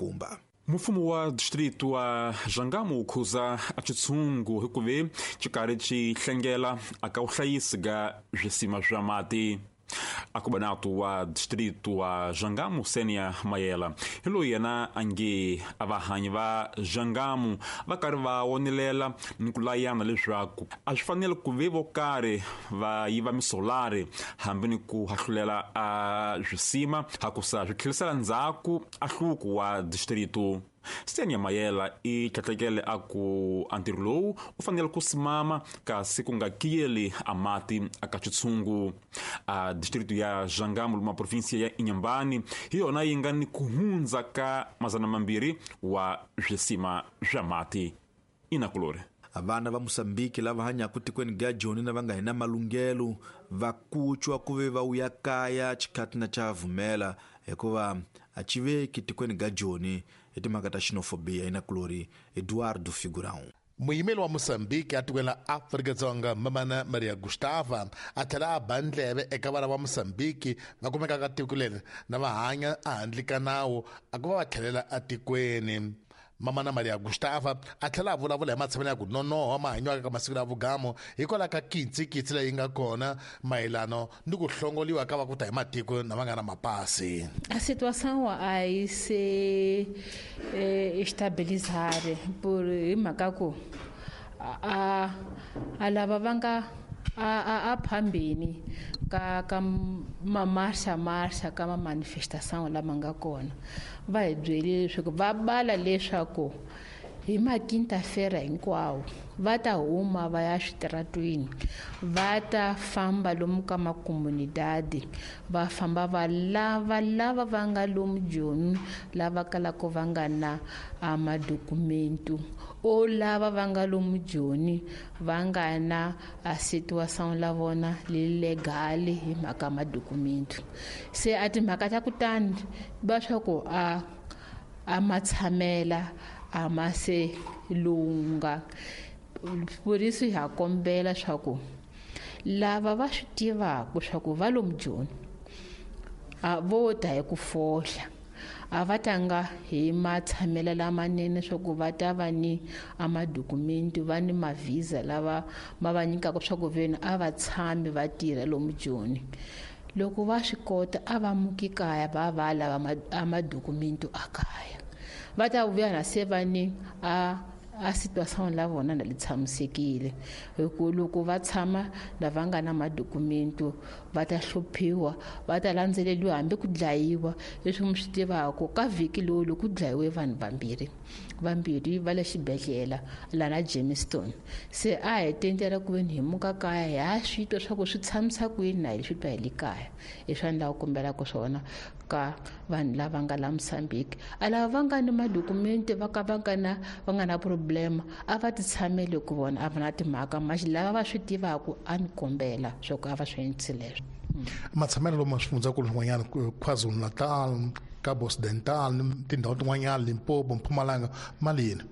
Nkumba. Mfumo wa distrito wa Jangamo wu khuza a xitshungu hikuva xi karhi xi hlengela aka vuhlayisi ga swisima swa mati. Akubanato wa distrito wa Jangamo Senia Mayela hi loyi yena a nge a vahanyi va Jangamo va karhi va wonelela ni ku layana leswaku a swi fanele ku ve vo karhi va yiva misolari hambi ni ku hahlulela a swisima hakusa swi tlherisela ndzhaku a hluku wa distrito. Senia Mayela i tlhatlhekele a ku a ntirho lowu u fanele ku simama kasi ku nga kiyeli a mati aka xitshungu. A distrito ya Jangamo luma provinsia ya Inhambane hi yona yi nga ni ku hundza ka 200 wa swisima swa mati. Inakulori vana va Mosambiki lava hanyaka tikweni ga Joni na va nga hina malunghelo va kucwa ku ve va wuya kaya xikhati na xa vumela hikuva a xi veki tikweni ga Joni hi timhaka ta xenofobia. Inakulori Eduardo Figurão. Muyimeli wa Mosambiki a tikweni la Afrika-Dzonga Mamana Maria Gustava a tlhela a ba ndleve eka vana va Mosambiki va kumekaka tiko leri na va hanya ehandle ka nawu a ku va va tlhelela etikweni. Mamana Maria Gustava a tlhela a vulavula hi matshamelo ya ku nonoha mahanyiwaka ka masiku ya vugamo hikwalaho ka kitsikitsi leyi nga kona mayelano ni ku hlongoliwa ka va ku ta hi matiko na va nga na mapasi. A situação a yi se estabilizar por hi mhaka ku a lava va nga a phambeni ka mamarxa marxa ka ma-manifestação lama nga kona va hi byelile leswaku va bala leswaku hi maquinta-feira hinkwawo va ta huma va ya switaratwini, va ta famba lomu ka makomunidadi, va famba va lava lava va nga lomu Joni lava kalaka va nga na madokumentu o lava va nga lomu Joni va nga na a situação la vona legal hi mhaka madokumentu. Se a timhaka ta kutani va swa ku a matshamela a ma se lunga. Por isso ha kombela swa ku lava va swi tivaka swa ku va lomu Joni a vo ta hi ku fohla, a va tanga hi matshamelo lamanene swa ku va ta va ni a madokumentu, va ni mavhiza lava ma va nyikaka swa ku veni a va tshami va tirha lomu Joni. Loko va swi kota a va muki kaya va va lava a madokumentu a kaya, va ta vuya na se va ni a situação la vona na li tshamisekile. Hi ku loko va tshama lava nga na madokumentu va ta hluphiwa, va ta landzeleriwa hambi ku dlayiwa. Leswi mi swi tivaka ka vhiki lowu loko ku dlayiwe vanhu vambirhi va le xibedhlele lana Jamestown. Se a hi tendela ku veni hi muka kaya hi ha swi twa swa ku swi tshamisa kwini na hi swi twa hi le kaya. Hi swa ni lava ku kombelaka swona ka vanhu lava nga la Mozambique, a lava va nga ni madokumente va ka va nga na va nga na problema a va ti tshamele ku vona a va na timhaka maxi lava va swi tivaka a ni kombela swa ku a va swi endlisi leswo. Matshamelo lomu swifundzakulu swin'wanyana KwaZulu-Natal, Cabo Occidental ni tindhawu tin'wanyana Limpopo, Mpumalanga malini?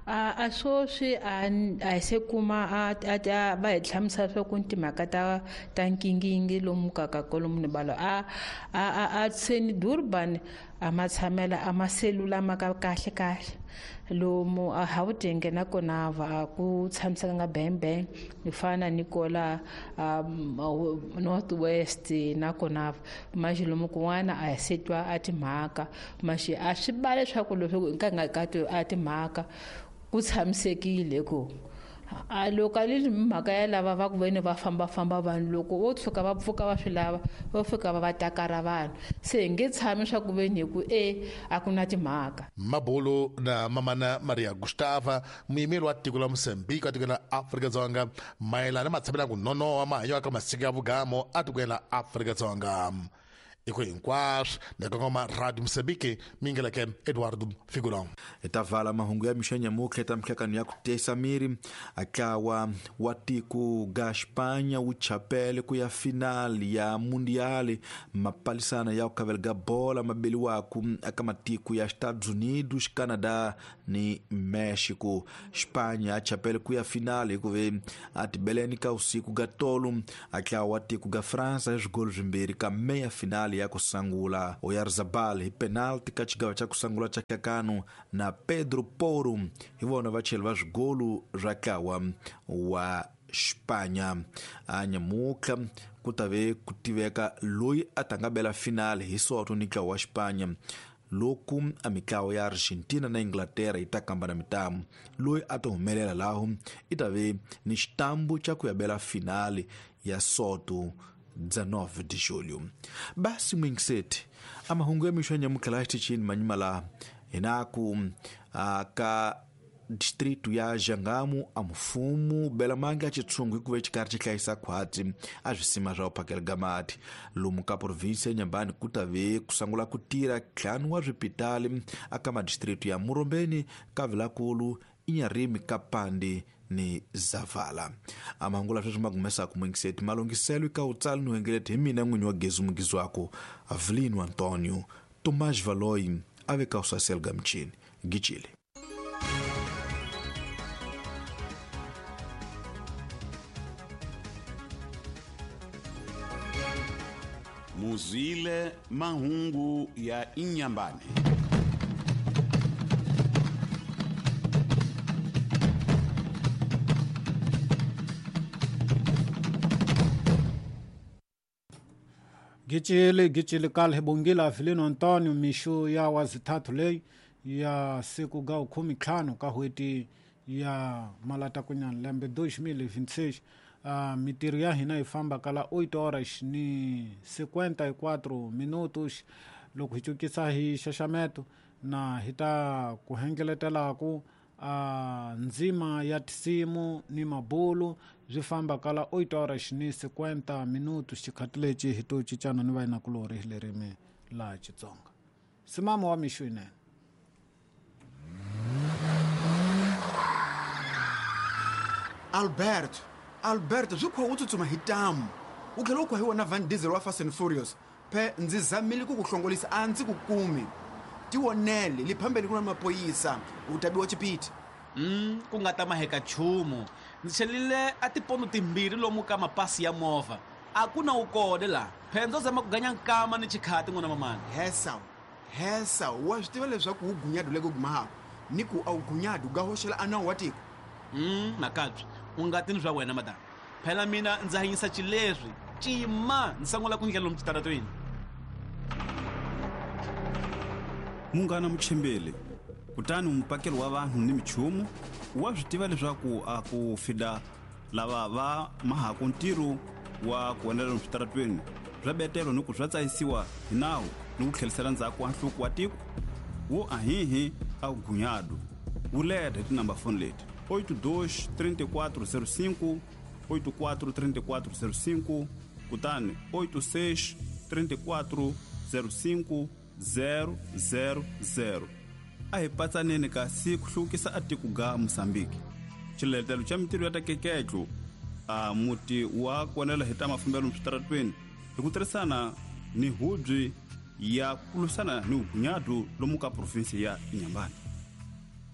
A swoswi a hi se kuma a va hi hlamusela swa ku timhaka ta nkingingi lomu ka ka kolomu ni balo a seni Durban a matshamela a maselula ma ka kahle kahle lomu a Gauteng na kona va ku tshamisekanga bang ni fana ni kola North West na kona maxi lomu kun'wana a hi se twa a timhaka maxi a swi ba leswaku loko hi nga ka a timhaka ku tshamisekile ku a loko a li mhaka ya lava va ku veni va fambafamba vanhu loko vo tshuka va pfuka va swi lava va fika va va takara vanhu se hi nge tshami swa ku veni hi ku a ku na timhaka. Mabulu na Mamana Maria Gustava muyimeri wa tiko la Mozambique a tikweni la Afrika-Dzonga mayelana na matshamelo ya ku nonoha mahanyelo ka masiku ya vugamo a tikweni la Afrika-Dzonga. Iko hinkwaswo na kongoma Radio Mozambique mingeleke Eduardo Figurão. Hi ta vala mahungu ya mixo ya nyamutlha ta mihlakano ya ku tiyisa miri. Ntlawa wa tiko ga Xipanya wu chapele ku ya final ya Mundial mapalisana ya ku khavela ga bola mabeliwaku eka matiko ya Estados Unidos, Canada ni Mexico. Xipanya a chapele ku ya final hikuva a tibeleni ka usiku ga tolo ntlawa wa tiko ga France hi swigolo swimbirhi ka meya final. finali ya kusangula. Oyarzabal hi penalti ka xigava xa kusangula xa kakano na Pedro Porro hi vona vacheli va swigolu swa ntlawa wa Xipanya. A nyamutlha ku ta ve ku tiveka loyi a ta nga bela finali hi soto ni ntlawa wa Xipanya loku a mitlawa ya Argentina na Inglaterra yi ta kamba na mitamu. Loyi a ta humelela laho i ta ve ni xitambu xa ku ya bela finali ya soto 19 de julho. Basi mwingiseti a mahungu ya mixo ya nyamutlha laha xitichini manyima laha hina ku ka distrito ya Jangamo a mfumo bela mangi a xitshungu hikuva xikarhi xi hlayisa khwatsi a swisima swa ku phakela mati. Lomu ka provinsi ya Nyambani ku ta ve ku sungula ku tirha ntlhanu wa swipitali aka madistrito ya Murombeni, Kavilakulu, Inyarimi, Kapandi ni Zavala. A mahungu la sweswi ma humesaka mwingiseti malunghiselo ka utsali ni hengeleti hi mina n'winyi wa Gezu Mugizwako Avelino Antonio Tomás Valoi a ve ka usasel ga michini Gicile. Muzwile mahungu ya Inyambane. Gicile gicile kale bongila Avelino Antonio mixo ya wazithathu leyi ya siku ga 15 ka hweti ya malatakunyana lembe 2026. Mitirho ya hina yi famba kala 8 horas ni 54 minutos. Loko hi cukisa hi xaxameto na hi ta ku hengeletelaku ndzima ya tinsimu ni mabulu byi famba kala 8 horas ni 50 minutos. Xikhati lexi hi to cincana ni vayinakulorhi hi lerimi la Xitsonga. Simamo wa mixo yinene. Alberto swi kha u tsutsuma hi tamu u tlhela u khwa hi wona Van Diesel wa Fast and Furious. Phe ndzi zamile ku ku hlongolisa a ndzi ku kumi. Tivonele le phambeni ku na mapoyisa u ta biwa chipiti. Ku nga ta maheka nchumu. Ndzi chelile a tipondo timbirhi lomu ka mapasi ya movha. A ku na wu kona laha. Phe ndzo zama ku ganya nkama ni xikhati n'wana mamani. Hesa wa swi tiva leswaku wu gunyadu le ku gumahako ni ku a wu gunyadu ga hoxela a nawu wa tiko. Makabyi u nga tini swa wena madam. Phela mina ndzi hanyisa xileswi cima ndzi sungula ku ndlela lomu xitaratweni. Munghana Muchimbeli, kutani mupakeli wa vanhu ni michumu wa swi tiva leswaku a ku fida lava va mahaku ntirho wa ku endlela lomu switaratweni swa betelo ni ku swa tsayisiwa hi nawu ni ku tlherisela ndzhaku wa nhluko wa tiko wo ahihi a gunyadu wu leta hi tinamba foni leti 82 34 05 84 34 05 kutani 86 34 05 000. A hi patsaneni kasi ku hluvukisa a tiko ga Mosambiki. Xiletelo xa mitirho ya ta keketlo a muti wa konela hi ta mafambelo switaratweni hi ku tirhisana ni hubyi ya ku lwisana ni vugunyadu lomu ka provinsi ya Inhambane.